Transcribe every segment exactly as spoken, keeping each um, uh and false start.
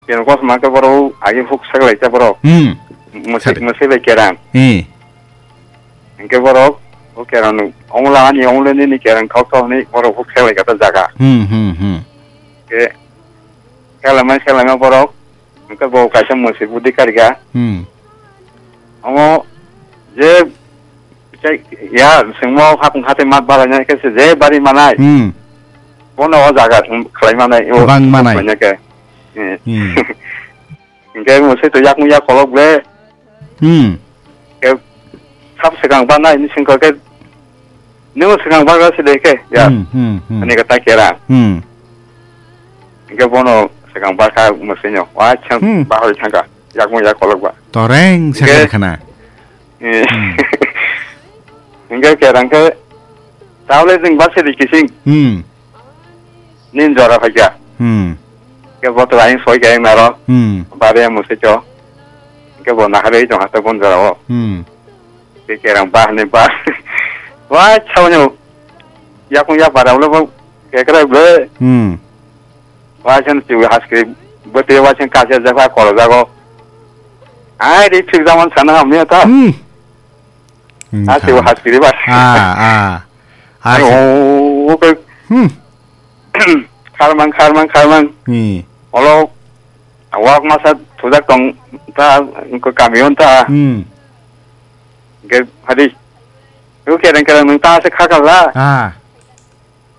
Keno kosma ke borok agi huk seglai ta borok. Hmm. Musik, Sari. Musik bai kerang. Eh. Hingke borok, o kerang no, ongla ani ongla nini kerang thok thok ni borok huk seglai kata jaga. Hmm, hmm, hmm. Ke, seglai ma, seglai ma borok, hingke bo kaisa musik budi karga. Hmm. Omo, je, ya, sengmo hapung hati mat balai nai ke se je bari manai. Hmm. Bono o jaga, um, khlai manai, o, Bang manai. Khlai nai ke. Eh. Hmm. Hingke musik to yak mung yak kolok ble. Hmm. Ke sab sekang ba nai ni singko ke. Nung sekang ba ga sile ke, ya. Hmm, hmm, hmm. Ani kata kera. Hmm. Hingke bono sekang ba ka musinyo. Wa chang Hmm. Ba hoi thangka. Yak mung yak kolok ba. Toreng Hingke sakar khana. Eh. Hmm. Hingke kerang ke. Tawle jing ba sile kising. Hmm. Nin jora phaikha. Hmm. Ke boto aing soi khe naro. Hmm. Bare musiko. Ke bo nahare jong hasta bon jora o. Hmm. Ke kerang ba ne ba. Wa chawno. Yakung ya bara ulo bo. Ke kra ble. Hmm. Wa chen ti haskri. Bote wa chen ka ja ja kolo jago. Ai ri thik zaman sana hamya ta. Hmm. A se Wngkha. Haskiri ba. Ah, ah. Ah, Ai, se- oh, okay. Hmm. Kharmang, kharmang, kharmang. Hmm. Olo, awak masa thujak tong ta, ko kamion ta. Hmm. Ge, hadi. Ko kereng kereng nung ta se khakala. Ah.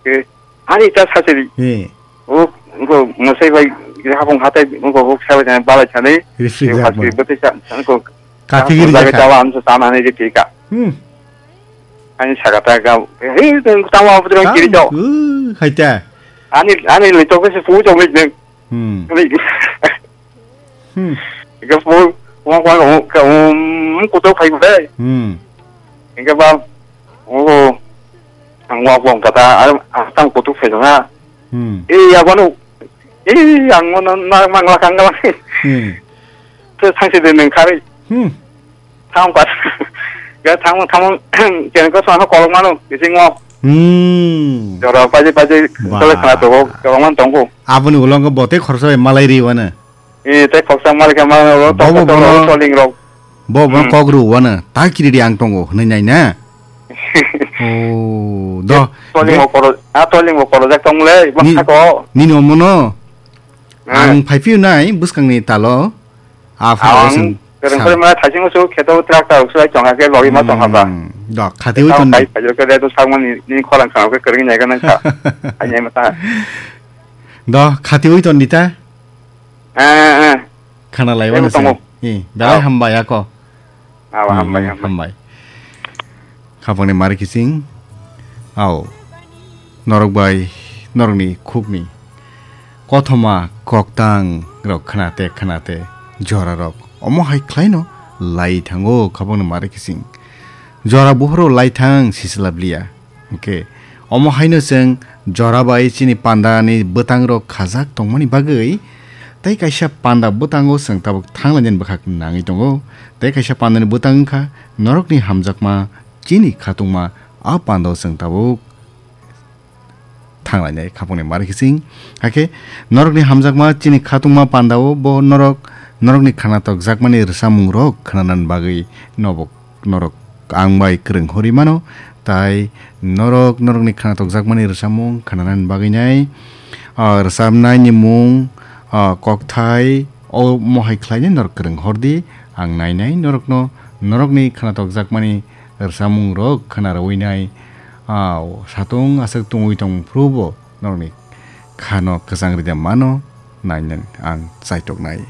Ke, ani ta sasiri. He. O, ko, mosai bai, hapung hatai, ko, ko, sabai jani, balai sani. Reflect Ko, yak hasiri, mo. Bete sa, ko, Kathik ri jaga jakha. Tawa, amsa, sama, ani, ri, tika. Hmm. Ani, sagata, ga, he, tawa, abu, kiri, Tam, jao. Uh, hai ta. Ani, ani, le, to, ke, se, pu, jao, me, jeng. Hmm. Ani, Hmm. Hingke po, wang, wang, wang, ka, um, kutok phai bai. Hmm. Hingke ba, oh, ang wak wang kata, ang, ang tang kutok phai jong ha. Hmm. Eh, ya banu. Eh, ang mo na, na, mang la kang la. Hmm. Te thang si de neng khari. Hmm. Thang pat. Ga thang, thang, ken ko sa kolok mano, kising mo. Hmm. Jora paji, paji, Ba. Tole khana to, ko, ko man tong ko. Aboni ulo ko bote khorsa bai malai ri wana. Eh, tei khoksa mal khe mal ro, Bobo tok tok bono, ro, soling rok. Bobo bono Hmm. Kok ru wano, ta kiri di ang tongo, hwnwi nai na? Oh, do. Soling Ge- o koro, a soling o koro jak tong le, Ni- bwsako. Nini omono? Hmm. Ang phai phiu nai, bwskang ni talo. A phai Ang sing kereng sa- kore ma thaising usu kheto tractor usu ai tong ha ke logi ma tong ha ba. Hmm, do, khati wi Tao ton. Kai phai ke de to sak mani, ni khorang khang ke kereng nai ka nang kha. Ai nai ma ta. Do, khati wi ton di ta? Eh, eh. Khana lai Ebo wano tongo. Se. Eh, belai Ao. Hambai ako. Ao, Hmm, hambai, hambai. Hambai. Khapangni mari kising. Ao. Norok bai, norokni khukni. Kothoma koktang rok khnate, khnate, jora rok. Omo hai khlaino lai thango khapangni mari kising. Jora buhoro lai thang sisla bliya. Hwnkhe, omo haino chwng jora bai chini pandani bwtangrok khajak tongmani bagwi tei kaisa panda bwtango chwng tabuk thanglainani bwkhak nangwi tongo. Tei kaisa pandani bwtang wngkha norokni hamjakma chini khatungma, a pandao chwng tabuk thanglainai khapangni mari kising. Hakhe norokni hamjakma chini khatungma pandao bo norok, norokni khana tokjakmani rwchapmungrok khwnanani bagwi nobo norok ang bai kwrwng hori mano, tai norok norokni khana tokjakmani rwchapmung khwnanani bagwi nai, ah, rwchapnaini mung, ah, kokthai, omo hai khlainai norok kwrwng hordi, ang nainai norokno norokni khana tokjakmani rwchapmungrok khwna rwui nai, ah, satung aswk tungui tong phuru bo norokni khano kwchang rwdi mano nainani ang chaitoknai.